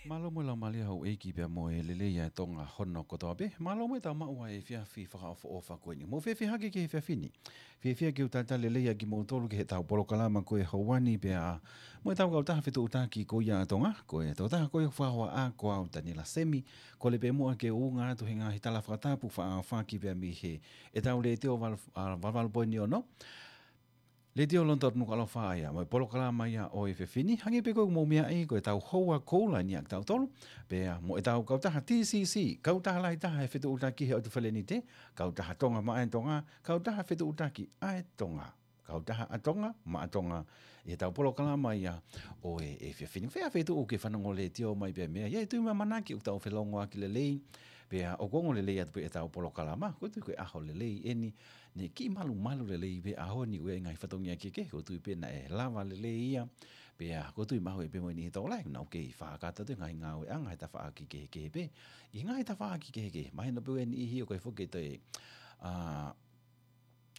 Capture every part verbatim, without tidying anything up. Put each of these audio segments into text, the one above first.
Mālō mo e laumālie ʻa houʻeiki pea mo e lelei ʻa Tonga hono kotoa pē. Mālō mo e tau maʻu ʻa e efiafi fakaʻofoʻofa ko eni. Mou fiefia hake ki he efiafi ni. Fiefia ke u talitali lelei ʻa kimoutolu ki heʻetau polokalama ko e Houani pea mo ʻetau kautaha fetuʻutaki ko ia ʻa Tonga. Ko e tokotaha ko ia ʻoku fakahoa ʻa ko au Taniela Semi. Kole pē muʻa ke u ʻunga atu he ngaahi tala fakatapu faʻa faki pea mei heʻetau letiō val-, ʻa, valu valu poini ono. Letiō London Nukuʻalofa ia, mo e polokalama ia ʻo e efiafi ni, hangē pē ko e mou meaʻi ko ʻetau houa koula eni ʻa kitautolu, pea mo ʻetau kautaha T C C, kautaha lahi taha he fetuʻutaki he ʻotu felenite, kautaha Tonga maʻa e Tonga, kautaha fetuʻutaki ʻa e Tonga, kautaha ʻa Tonga maʻa Tonga, ʻi heʻetau polokalama ia ʻo e efiafi ni. Fea fetuʻu ke fanongo letiō mai pea mei ai, ʻi ai e tui mo e ʻamanaki ʻoku tau felongoaki lelei, pea ʻoku ongo lelei atu pē ʻetau polokalama, ko e tui ko e ʻaho lelei eni, ne kiʻi malumalu lelei pē ʻaho ni ʻoku ʻi ai e ngaahi fatongia kehekehe, ko e tui pē naʻe lava lelei ia, pea ko e tui mahuʻi pē mo e niʻihi tokolahi, naʻa nau kei fakakakato atu e ngaahi ngāueʻanga he tafaʻaki kehekehe pē, ʻi he ngaahi tafaʻaki kehekehe, mahino pē ʻoku ʻi ai e niʻihi ʻoku ʻikai foki ke toe, ʻa,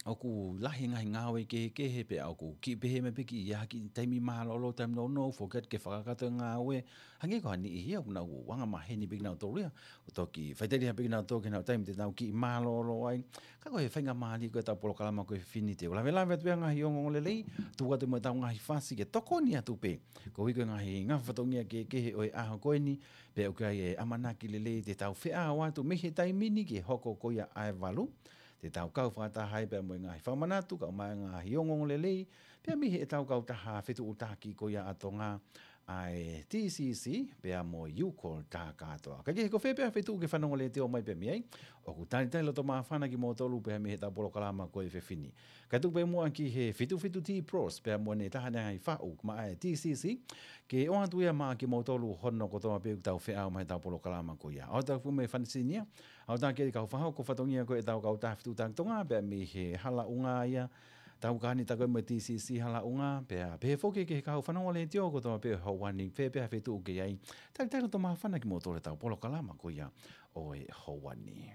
ʻoku lahi e ngaahi ngāue kehekehe pea ʻoku kiʻi pehē mai pē kiʻi ʻi ai ha kiʻi taimi mālōlō, taimi nounou, foki atu ke fakakakato e ngāue, hangē ko ha niʻihi ia ʻoku nau anga maheni pē kinautolu ia, ʻo toki faʻiteliha pē kinautolu ke nau taimi te nau kiʻi mālōlō ai. Ka ko e faingamālie ko ʻetau polokalama ko e efiafi ni te u lavelave atu pē ʻa e ngaahi ongoongolelei, tuku atu mo ʻetau ngaahi fasi ke tokoni atu pē. Koeʻuhi ko e ngaahi ngaahi fatongia kehekehe ʻo e ʻaho ko eni, pea ʻoku ʻi ai e ʻamanaki lelei te tau feʻao atu mei he taimi ni ki he hoko ko ia ʻa e valu. Te tau kau fakataha ai pea mo e ngaahi fakamanatu, kau mai ngaahi ongoongolelei, pea mei heʻetau kautaha fetuʻutaki ko ia ʻa Tonga, ʻa e T C C, pea mo e Youcall Takatoa. Ka ke he ko fē pē ʻa e fetuʻu ke fanongo letiō mai pea mei ai, ʻoku talitali loto māfana kimoutolu pea mei heʻetau polokalama ko e efiafi ni. Ka tuku pē muʻa ki he fitu fitu T Pros, pea mo ʻene taha ʻene ngaahi faʻu maʻa e T C C, ke ʻoatu ia maʻa kimoutolu hono kotoa pē ʻoku tau feʻao mai heʻetau polokalama ko ia. ʻOatu atu mo e fanisini ia, ʻoatu atu ki he kau fakahoko fatongia ko ʻetau kautaha fetuʻutaki Tonga, pea mei he Hala ʻUnga ia, tau kani ta ko e mo e T C C Hala ʻUnga, pea pehē foki ki he kau fanongo letiō kotoa pē ʻo e Houani, fē pē ʻa e fetuʻu ke ʻi ai. Talitali loto māfana kimoutolu heʻetau polokalama ko ia ʻo e Houani.